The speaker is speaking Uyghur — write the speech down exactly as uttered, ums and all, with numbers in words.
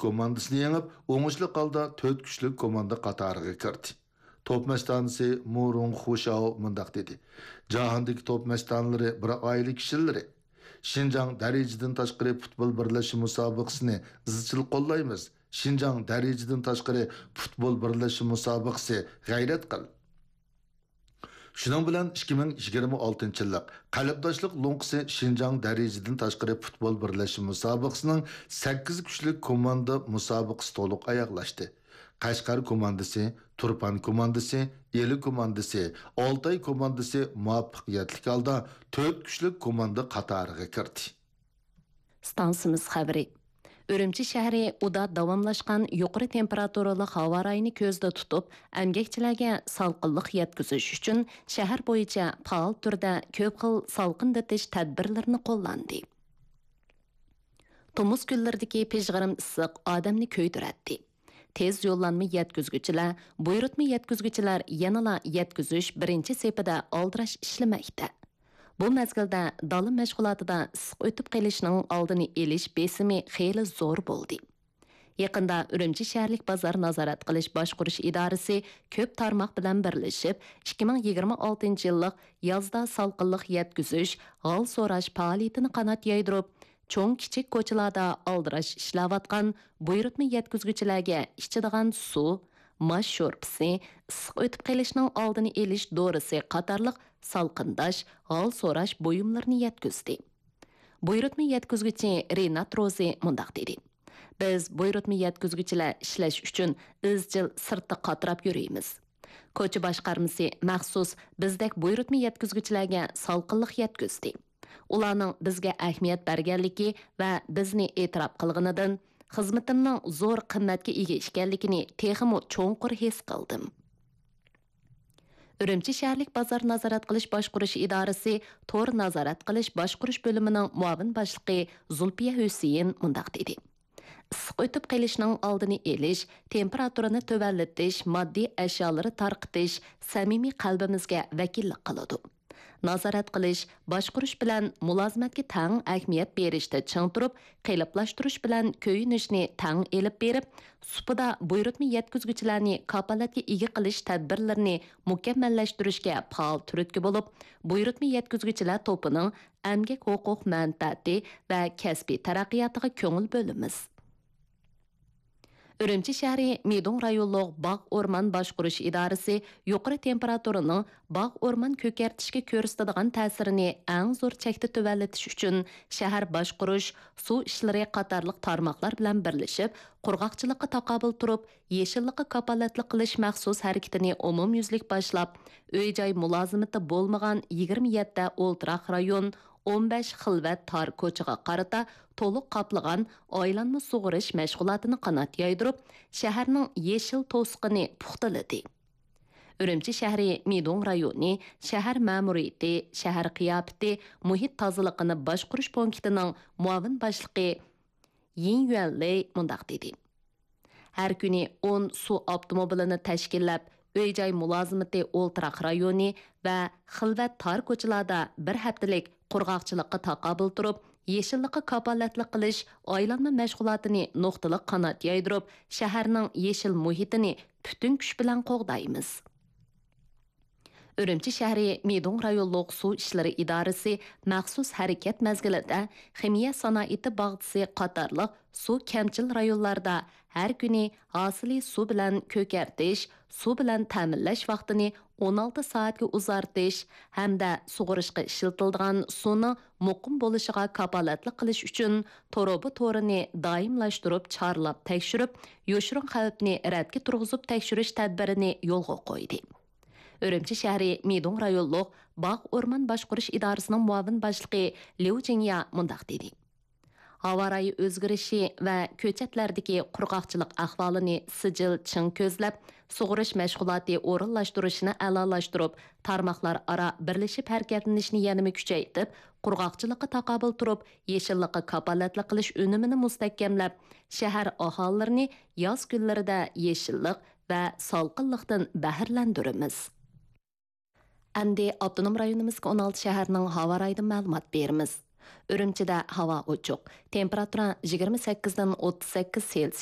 كوماندىسىنى يېڭىپ، ئوڭۇشلۇق ھالدا تۆت كۈچلۈك كوماندا قاتارىغا كىردى. توپ مەستانىسى مۇ رۇڭ خۇشاۋ مۇنداق دېدى: جاھاندىكى توپ مەستانىلىرى بىر ئائىلە كىشىلىرى. شىنجاڭ دەرىجىدىن تاشقىرى پۇتبول بىرلەشمە مۇسابىقىسىنى ئىزچىل قوللايمىز. شىنجاڭ دەرىجىدىن تاشقىرى پۇتبول بىرلەشمە مۇسابىقىسى، غەيرەت قىل! شۇنىڭ بىلەن ئىككى مىڭ يىگىرمە ئالتىنچى يىللىق قەلبداشلىق لوڭقىسى شىنجاڭ دەرىجىدىن تاشقىرى پۇتبول بىرلەشمە مۇسابىقىسىنىڭ سەككىز كۈچلۈك كوماندا مۇسابىقىسى تولۇق ئاياغلاشتى. قەشقەر كوماندىسى، تۇرپان كوماندىسى، ئىلى كوماندىسى، ئالتاي كوماندىسى مۇۋەپپەقىيەتلىك ھالدا تۆت كۈچلۈك كوماندا قاتارىغا كىردى. ئىستانسىمىز خەۋىرى. ئۈرۈمچى شەھىرى ئۇدا داۋاملاشقان يۇقىرى تېمپېراتۇرىلىق ھاۋا رايىنى كۆزدە تۇتۇپ، ئەمگەكچىلەرگە سالقىنلىق يەتكۈزۈش ئۈچۈن شەھەر بويىچە پائال تۈردە كۆپ خىل سالقىندىتىش تەدبىرلىرىنى قوللاندى. تومۇز كۈنلىرىدىكى پىژغىرىم ئىسسىق ئادەمنى كۆيدۈرەتتى. تېز يوللانما يەتكۈزگۈچىلەر، بۇيرۇتما يەتكۈزگۈچىلەر يەنىلا يەتكۈزۈش بىرىنچى سېپىدە ئالدىراش ئىشلىمەكتە. بۇ مەزگىلدە دالا مەشغۇلاتىدا ئىسسىق ئۆتۈپ قېلىشنىڭ ئالدىنى ئېلىش بېسىمى خېلى زور بولدى. يېقىندا ئۈرۈمچى شەھەرلىك بازار نازارەت قىلىش باشقۇرۇش ئىدارىسى كۆپ تارماق بىلەن بىرلىشىپ، ئىككى مىڭ يىگىرمە ئالتىنچى يىللىق يازدا سالقىنلىق يەتكۈزۈش، ھال سوراش پائالىيىتىنى قانات يايدۇرۇپ، چوڭ كىچىك كوچىلاردا ئالدىراش ئىشلەۋاتقان بۇيرۇتما يەتكۈزگۈچىلەرگە ئىچىدىغان سۇ، ماش شورپىسى، ئىسسىق ئۆتۈپ قېلىشنىڭ ئالدىنى ئېلىش دورىسى قاتارلىق سالقىنداش، ھال سوراش بۇيۇملىرىنى يەتكۈزدى. بۇيرۇتما يەتكۈزگۈچى رىنات روزى مۇنداق دېدى: بىز بۇيرۇتما يەتكۈزگۈچىلەر ئىشلەش ئۈچۈن ئىزچىل سىرتتا قاتراپ يۈرىمىز. كوچا باشقارمىسى مەخسۇس بىزدەك بۇيرۇتما يەتكۈزگۈچىلەرگە سالقىنلىق يەتكۈزدى. ئۇلارنىڭ بىزگە ئەھمىيەت بەرگەنلىكى ۋە بىزنى ئېتىراپ قىلغىنىدىن خىزمىتىمنىڭ زور قىممەتكە ئىگە ئىكەنلىكىنى تېخىمۇ چوڭقۇر ھېس قىلدىم. ئۈرۈمچى شەھەرلىك بازار نازارەت قىلىش باشقۇرۇش ئىدارىسى تور نازارەت قىلىش باشقۇرۇش بۆلۈمىنىڭ مۇئاۋىن باشلىقى زۇلپىيە ھۈسېيىن مۇنداق دېدى: ئىسسىق ئۆتۈپ قېلىشنىڭ ئالدىنى ئېلىش، تېمپېراتۇرىنى تۆۋەنلىتىش، ماددىي ئەشيالىرى تارقىتىش سەمىمىي قەلبىمىزگە ۋەكىللىك قىلىدۇ. نازارەت قىلىش، باشقۇرۇش بىلەن مۇلازىمەتكە تەڭ ئەھمىيەت بېرىشتە چىڭ تۇرۇپ، قېلىپلاشتۇرۇش بىلەن كۆيۈنۈشنى تەڭ ئېلىپ بېرىپ، سۇپىدا بۇيرۇتما يەتكۈزگۈچىلەرنى كاپالەتكە ئىگە قىلىش تەدبىرلىرىنى مۇكەممەللەشتۈرۈشكە پائال تۈرتكە بولۇپ، بۇيرۇتما يەتكۈزگۈچىلەر توپىنىڭ ئەمگەك ھوقۇق مەنپەئەتى ۋە كەسپىي تەرەققىياتىغا كۆڭۈل بۆلىمىز. ئۈرۈمچى شەھىرى مىدۇڭ رايونلۇق باغ ئورمان باشقۇرۇش ئىدارىسى يۇقىرى تېمپېراتۇرىنىڭ باغ ئورمان كۆكەرتىشكە كۆرسىتىدىغان تەسىرىنى ئەڭ زور چەكتە تۆۋەنلىتىش ئۈچۈن شەھەر باشقۇرۇش، سۇ ئىشلىرى قاتارلىق تارماقلار بىلەن بىرلىشىپ، قۇرغاقچىلىققا تاقابىل تۇرۇپ، يېشىللىققا كاپالەتلىك قىلىش مەخسۇس ھەرىكىتىنى ئومۇميۈزلۈك باشلاپ، ئۆي-جاي مۇلازىمىتى بولمىغان يىگىرمە يەتتە ئولتۇراق رايون، ئون بەش خىلۋەت تار كوچىغا قارىتا تولۇق قاپلىغان ئايلانما سۇغىرىش مەشغۇلاتىنى قانات يايدۇرۇپ، شەھەرنىڭ يېشىل توسۇقىنى پۇختىلىدى. ئۈرۈمچى شەھىرى مىدۇڭ رايونى شەھەر مەمۇرىيىتى، شەھەر قىياپىتى، مۇھىت تازىلىقىنى باشقۇرۇش پونكىتىنىڭ مۇئاۋىن باشلىقى يىن يۈەنلېي مۇنداق دېدى: ھەر كۈنى ئون سۇ ئاپتوموبىلىنى تەشكىللەپ، ئۆي-جاي مۇلازىمىتى ئولتۇراق رايونى ۋە خىلۋەت تار كوچىلاردا بىر ھەپتىلىك قۇرغاقچىلىققا تاقابىل تۇرۇپ، يېشىللىققا كاپالەتلىك قىلىش ئايلانما مەشغۇلاتىنى نۇقتىلىق قانات يايدۇرۇپ، شەھەرنىڭ يېشىل مۇھىتىنى پۈتۈن كۈچ بىلەن قوغدايمىز. ئۈرۈمچى شەھىرى مىدۇڭ رايونلۇق سۇ ئىشلىرى ئىدارىسى مەخسۇس ھەرىكەت مەزگىلىدە خىمىيە سانائىتى باغچىسى قاتارلىق سۇ كەمچىل رايونلاردا ھەر كۈنى ھاسىلى سۇ بىلەن كۆكەرتىش، سۇ بىلەن تەمىنلەش ۋاقتىنى ئون ئالتە سائەتكە ئۇزارتىش ھەمدە سۇغىرىشقا ئىشلىتىلىدىغان سۇنىڭ مۇقىم بولۇشىغا كاپالەتلىك قىلىش ئۈچۈن تۇرۇبا تورىنى دائىملاشتۇرۇپ چارلاپ تەكشۈرۈپ، يوشۇرۇن خەۋپنى رەتكە تۇرغۇزۇپ تەكشۈرۈش تەدبىرىنى يولغا قويدى. ئۈرۈمچى شەھىرى مىدۇڭ رايونلۇق باغ ئورمان باشقۇرۇش ئىدارىسىنىڭ مۇئاۋىن باشلىقى ليۇ جىڭيا مۇنداق دېدى: ھاۋا رايى ئۆزگىرىشى ۋە كۆچەتلەردىكى قۇرغاقچىلىق ئەھۋالىنى سىجىل چىڭ كۆزلەپ، سۇغىرىش مەشغۇلاتى ئورۇنلاشتۇرۇشنى ئەلالاشتۇرۇپ، تارماقلار ئارا بىرلىشىپ ھەرىكەتلىنىشنى يەنىمۇ كۈچەيتىپ، قۇرغاقچىلىققا تاقابىل تۇرۇپ، يېشىللىققا كاپالەتلىك قىلىش ئۈنۈمىنى مۇستەھكەملەپ، شەھەر ئاھالىلىرىنى ياز كۈنلىرىدە يېشىللىق ۋە سالقىنلىقتىن بەھرىلەندۈرىمىز. ئەمدى ئاپتونوم رايونىمىزدىكى ئون ئالتە شەھەرنىڭ ھاۋا رايىدىن مەلۇمات بېرىمىز. ئۈرۈمچىدە ھاۋا ئوچۇق، تېمپېراتۇرا يىگىرمە سەككىزدىن ئوتتۇز سەككىز